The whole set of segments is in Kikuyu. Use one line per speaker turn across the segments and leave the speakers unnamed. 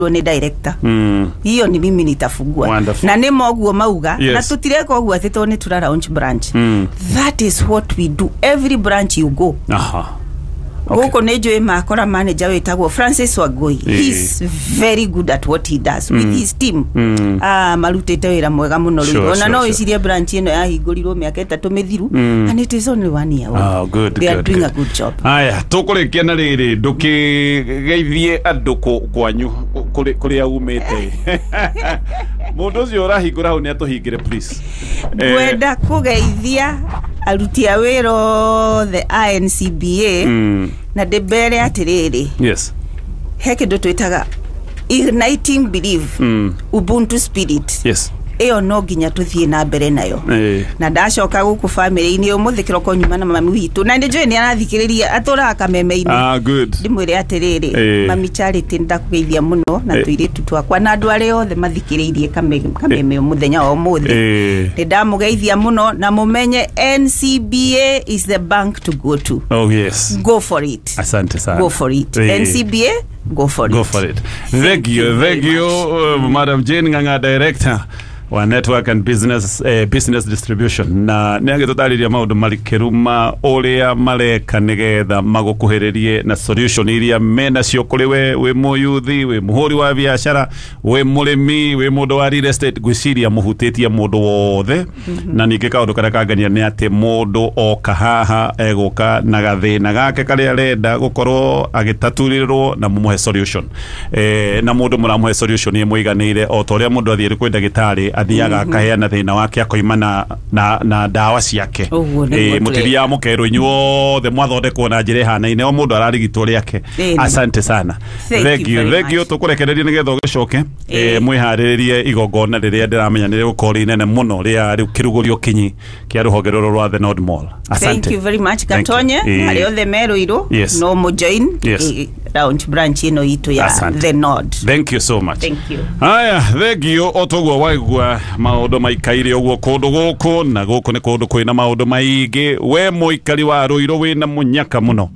Nĩ director. Hiyo ni mimi nitafungua.
Wonderful.
Na nĩ moguo mauga. Na tutireka ũguo atĩ tondũ nĩ tura launch branch. That is what we do every branch you go.
Aha.
Gũkũ nĩ njũĩ makora manager wĩtagwo Francis Wangui. He's very good at what he does with his team. Ah, marutĩte wĩra mwega mũno. Rĩu ona no wĩcirie branch ĩno yahingũrirwo mĩaka 3 mĩthiru, and it is only one year old.
Oh, good,
They are
good,
doing
good.
a good job.
Aya, tũkũrĩkia na rĩrĩ, ndũkĩgeithie andũ kwanyu kũrĩa umĩte. Mũndũ ũcio ũrahingũra hau nĩ atũhingĩre, please.
Ngwenda kũgeithia aruti a wĩra othe a NCBA na ndĩmbere atĩrĩrĩ, he kĩndũ twĩtaga igniting belief, ubuntu spirit. Ĩyo no nginya tũthiĩ na mbere nayo. Na ndacoka gũkũ bamĩrĩ-inĩ, ũmũthĩ kĩroko nyuma na mami witũ, na nĩ njũĩ nĩ arathikĩrĩria, atũraga kameme-inĩ.
Ah, good.
Ndĩmwĩre atĩrĩrĩ, mami Charity, ndakũgeithia mũno na tũirĩtu twakwa na andũ arĩa othe mathikĩrĩirie kameme mũthenya wa ũmũthĩ. Nĩ ndamũgeithia mũno na mũmenye NCBA is the bank to go to.
Oh yes.
Go for it.
Asante sana.
Go for it. NCBA, go for it.
Go for it. Thank you.
Very
Thank you,
much.
Madam Jane Ng'ang'a, director wa network and business distribution, na nĩ agĩtũtarĩria maũndũ marikĩru ma ũrĩa mareka nĩgetha magũkuhĩrĩrie na solution iria menacio kũrĩ we wĩ mũyuthi, wĩ mũhũri wa biacara, wĩ mũrĩmi, wĩ mũndũ wa real estate. Ngwĩciria mũhutĩtie mũndũ wothe. Na ningĩ kaũndũ karĩa kangenia nĩ atĩ mũndũ oka haha egũka na gathĩna gake karĩa arenda gũkorwo agĩtaturĩrwo na mũmũhe solution, na mũndũ mũramũhe solution ĩmũiganĩire, o ta ũrĩa mũndũ athiĩ kwĩ ndagĩtarĩ, athiaga akaheana thĩna wake, akoima na ndawa ciake.
Ũguo nĩguo.
Mũtithiaga mũkerwo inyuothe mwathondekwo na njĩra ĩhanaine, o mũndũ ararigitwo rĩake. Asante sana.
Thank you very
Thank you.
much.
Tũkũrekereria nĩgetha ũgĩcoke mwĩharĩrĩrie igongona rĩrĩa ndĩramenya nĩ rĩgũkorwo rĩ inene mũno rĩa rĩu kĩrugũrio kinyi kĩa rũhonge rũrũ rwa The Nod Mall. Asante.
Thank you very much.
Thank you.
Gatonye arĩa othe merũirũ no mũjoin launch branch ĩno itũ ya
Asante.
The Nod.
Thank you so much.
Thank you.
Haya, thank you. O toguo waigua maũndũ maikaire ũguo kũndũ gũkũ, na gũkũ nĩ kũndũ kwĩna maũndũ maingĩ. We mũikari wa Rũirũ wĩna mũnyaka mũno,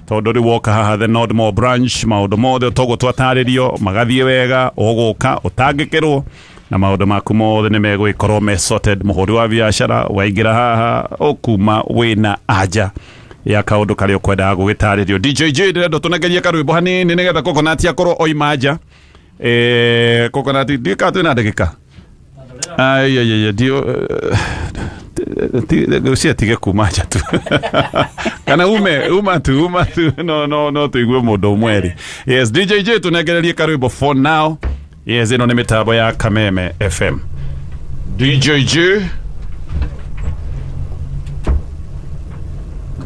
tondũ rĩu woka haha The Nod Mall branch, maũndũ mothe toguo twatarĩrio magathiĩ wega, ũgũka ũtangĩkĩrwo na maũndũ maku mothe nĩ megũgĩkorwo me sorted. Mũhũri wa biacara waingĩra haha ũkuma wĩna anja ya kaũndũ karĩa ũkwendaga gũgĩtarĩrio. DJ J, ndĩrenda tũnengerie karwĩmbo hanini nĩgetha Coconut akorwo oima nja. Coconut, ndiũĩ kana twĩna ndagĩka. Ai, ai, ai, ndio ngwĩciria tige kuma nja tu kana ume uma tu, uma tu, no tuigue mũndũ ũmwe erĩ. Yes, DJ J, tũnengererie karwĩmbo for now. Yes, ĩno nĩ mĩtambo ya Kameme FM. DJ J,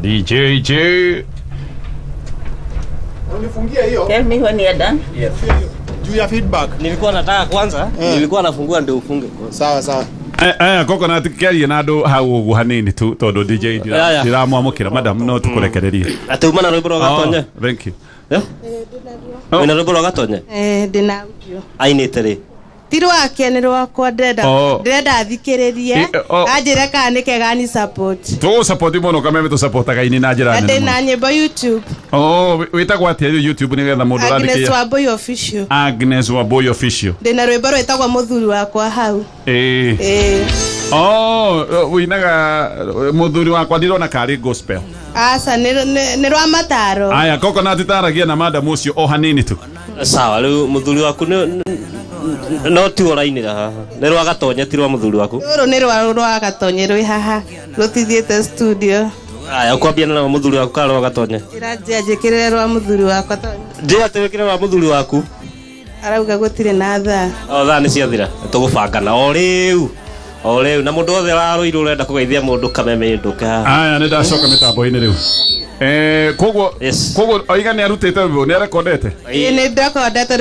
DJ J.
Unifungia hiyo.
Tell me when you're done.
Juu ya feedback.
Nilikuwa nataka kwanza, nilikuwa nafungua ndio ufunge.
Sawa sawa.
Coconut, kĩarie na andũ hau ũguo hanini tu tondũ DJ
Aya.
ndiramwamũkĩra. Madam, no tũkũrekererie.
Atĩ uma na rwĩmbo rwa Gatonye?
Oh, thank you.
Eh?
Oh.
Wĩna rwĩmbo rwa Gatonye?
Ndĩna audio.
Ainĩte rĩ?
Ti rwake, nĩ rwakwa. Ndĩrenda
Oh.
ndĩrenda thikĩrĩrie,
Oh.
anjĩre kana nĩ kega ni support.
Tũgũsapoti mũno. Kameme tũsapotaga ini na njĩra
Na
nene
ndĩna
mũno.
nyĩmbo YouTube.
Oh, wĩtagwo atĩa rĩu YouTube nĩgetha mũndũ
Agnes
ũrathikĩrĩria?
Wambui Official.
Agnes Wambui Official.
Ndĩna rwĩmbo rwĩtagwo Mũthuri Wakwa hau.
Ĩĩ.
Ĩĩ.
Oh, wĩinaga Mũthuri Wakwa, ndirona karĩ gospel.
Aca, nĩ rwa mataro.
Aya, Coconut, taragia na madam ũcio o hanini tu.
Sawa, rĩu Mũthuri Waku no tiwo ũrainĩra haha. Nĩ rwa Gatonye, ti rwa Mũthuri Waku.
Rũrũ nĩ rwa Gatonye, rwĩ haha, rũtithiĩte studio.
Aya, ũkwambia na rwa Mũthuri Waku kana rwa Gatonye?
Njĩra njĩa njĩkĩrĩre rwa Mũthuri Wakwa tondũ
Njĩra atĩ wĩkĩre rwa Mũthuri Waku.
Arauga gũtirĩ na thaa.
O thaa nĩ ciathira. Tũgũbangana o rĩu. O rĩu na mũndũ wothe wa Rũirũ ũrenda kũgeithia mũndũ kameme, ndũke haha.
Aya, nĩ ndacoka mĩtambo-inĩ rĩu. Koguo
Yes.
koguo oiga nĩ arutĩte rwĩmbo, nĩ arekondete.
Ĩĩ, nĩ ndekondete.